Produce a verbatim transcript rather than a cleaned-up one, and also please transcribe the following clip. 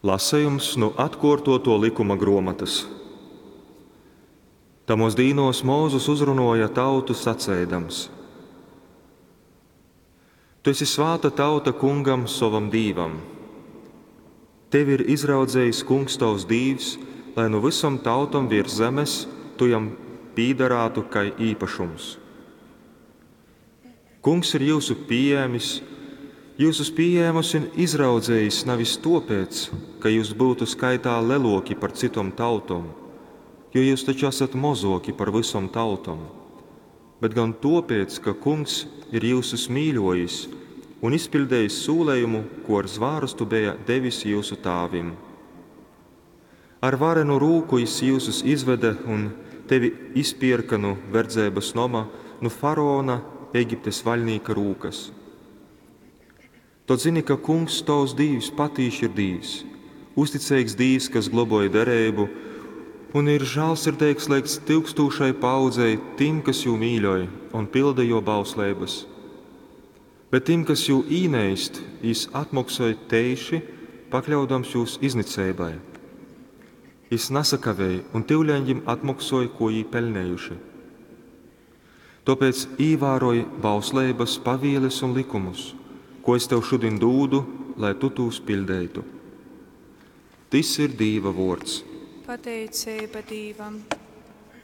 Lasejums nu Atkōrtōtō Lykuma grōmotas. Tamōs dīnōs Mozus uzrunōja tautu saceidams, Tu esi svāta tauta Kungam, sovam Dīvam. Tevi ir izraudzejis Kungs tovs Dīvs, lai nu vysom tautom viers zemes tu jam pīdarātu kai īpašums. Kungs ir jyusu pījēmis, jyusus pījēmus un izraudzejis navis tōpēc, ka jyus byutu skaitā lelōki par cytom tautom, jo jyus taču asat mozōki par vysom tautom, bet gon tōpēc, ka Kungs ir jyusus mīļōjis un izpiļdejis sūlejumu, kū ar zvārastu beja devis jyusu tāvim. Ar varenu rūku jys jyusus izvede un tevi izpierka nu verdzeibas noma, nu faraona, Egiptes vaļnīka rūkas. Tod zini, ka Kungs, tovs Dīvs, patīši ir Dīvs, uzticeigs Dīvs, kas globoj dereibu un ir žālsirdeigs leidz tyukstūšai paaudzei tim, kas jū mīļoj un pylda jō bausleibas. Bet tim, kas jū īneist, jys atmoksoj teiši, pakļaudams jūs izniceibai. Jys nasakavej un tyuleņ jim atmoksoj, ko jī peļnejuši. Tōpēc īvāroj bausleibas, pavieles un lykumus, ko es tev šudin dūdu, lai tu tūs piļdeitu. Tys ir Dīva vōrds. Pateiceiba Dīvam.